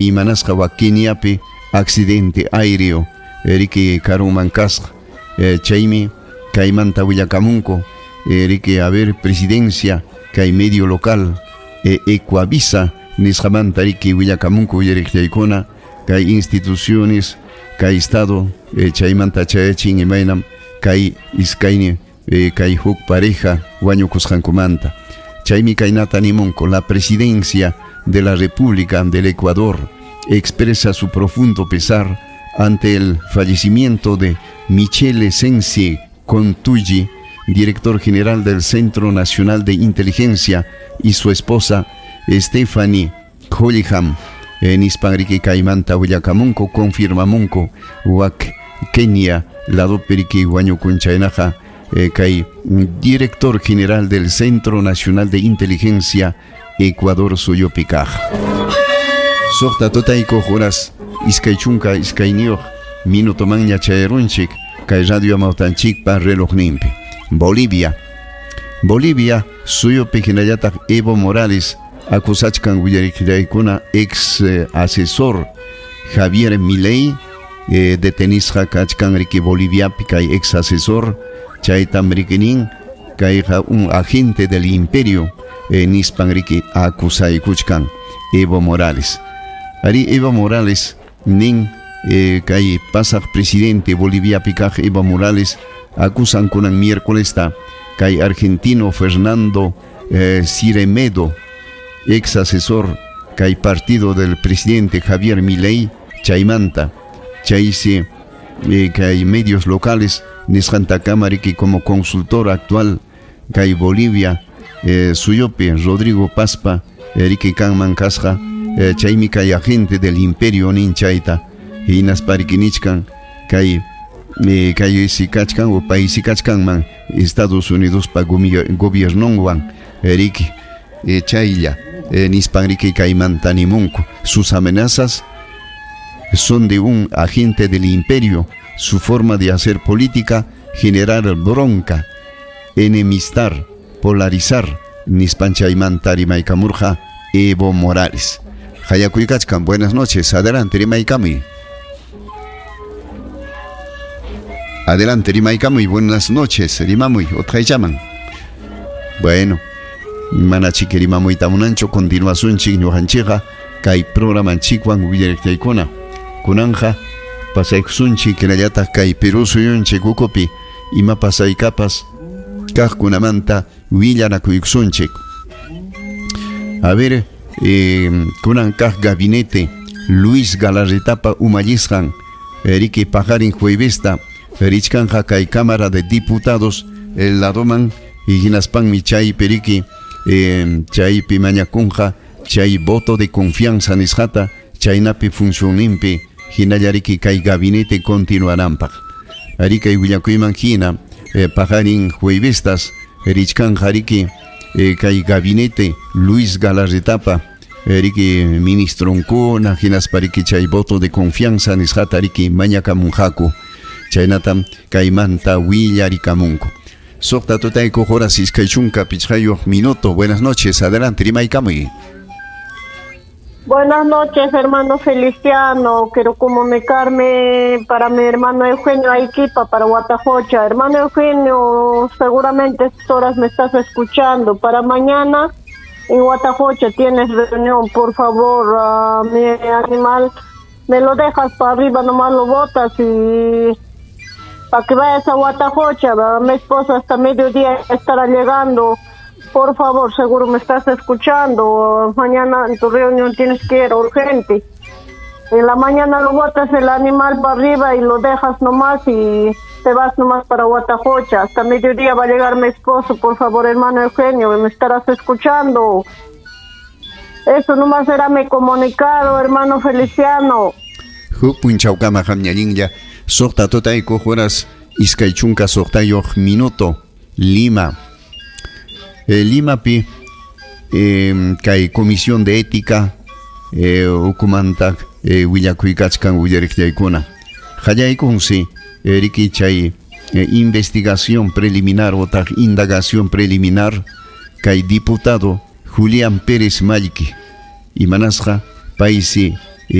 Imanasqa wak Keniapi accidente aéreo riki karunman kasqa. Chaymi kaymanta willakamunku riki, a ver, presidencia kay medio local Ecuavisa nisqamanta riki willakamunku willariqllaykuna kay instituciones kay estado chaymanta chayachin imaynam kay iskayni kay huk pareja wañukusqankumanta. Chaymi kaynata nimunku: la presidencia de la República del Ecuador expresa su profundo pesar ante el fallecimiento de Michele Sensi Contulli, director general del Centro Nacional de Inteligencia, y su esposa Stephanie Hollingham. Nispan riki kaymanta willakamunku, confirmamunku wak Kenia ladopi riki wañukun chaynaqa kay director general del Centro Nacional de Inteligencia Ecuador suyupi kaq. 6 tutaykuq horas 22 minutomanña chayarunchik kay radio amawtanchikpa relojninpi. Bolivia. Bolivia suyupi hinallataq Evo Morales acusachkan willariqllaykuna ex asesor Javier Milei detenisqa kachkan riki Boliviapi kay ex asesor chaytam riki nin kayqa un agente del imperio nispan riki acusaykuchkan Evo Morales. Ari Evo Morales nin kay pasaq presidente Boliviapi kaq Evo Morales acusan kunan miércoles kay argentino Fernando Ciremedo, ex asesor kay partido del presidente Javier Milei chaymanta chaysi kay medios locales nisqantakama riki como consultor actual kay Bolivia suyupi Rodrigo Pazpa riki kanman kasqa chaymi kay agente del imperio nin chayta hinaspa riki nichkan kay kay si kachkan o paysi kachkanman Estados Unidospa gobiernonwan riki chaylla nispan riki kaymanta nimunku sus amenazas son de un agente del imperio, su forma de hacer política, generar bronca, enemistar, polarizar, nispan chaymanta rimaykamurqa Evo Morales. Hayakuykachkan, buenas noches, adelante rimaykamuy. Adelante rimaykamuy, buenas noches, rimamuy, utqayllaman. Bueno, manachiki rimamuyta munanchu, continuasunchik ñuqanchikqa kay programanchikwan willariqtaykuna. Kunanja pasaykusunchik hinallataq kay Perú suyunchik ukupi ima pasaykapas kaqkunamanta willanakuykusunchik. A ver, kunan kaq gabinete Luis Galarretapa umallisqan riki paqarin juevesta richkanja kay Cámara de Diputados el ladoman y hinaspanmi chaypi riki chaypi mañakunqa chay voto de confianza nisqata chaynapi funcionninpi hinalla riki kay gabinete continuananpaq. Ari kay willakuyman hina paqarin juevestas richkanja riki kay gabinete Luis Galarretapa riki ministronkuna hinaspa riki chay voto de confianza nisqata riki mañakamunqaku chaynatam kaymanta willarikamunku. 6 tutaykuq horas 25 minuto. Buenas noches, adelante, rimaykamuy. Buenas noches, hermano Feliciano. Quiero comunicarme para mi hermano Eugenio Aiquipa, para Huatajocha. Hermano Eugenio, seguramente estas horas me estás escuchando. Para mañana en Huatajocha tienes reunión. Por favor, mi animal, me lo dejas para arriba, nomás lo botas y para que vayas a Huatajocha. Mi esposo hasta mediodía estará llegando. Por favor, seguro me estás escuchando. Mañana en tu reunión tienes que ir urgente. En la mañana lo botas el animal para arriba y lo dejas nomás y te vas nomás para Huatajocha. Hasta mediodía va a llegar mi esposo. Por favor, hermano Eugenio, me estarás escuchando. Eso nomás era mi comunicado, hermano Feliciano. Huk punchawkama qam ñallinlla 6 tutaykuq horas 26 minuto Lima. Limapi kay comisión de ética ukumanta willakuykachkan willariqllaykuna. Qallaykunsi riki chay investigación preliminar otaq indagación preliminar kay diputado Julián Pérez Mallqui imanasqa paysi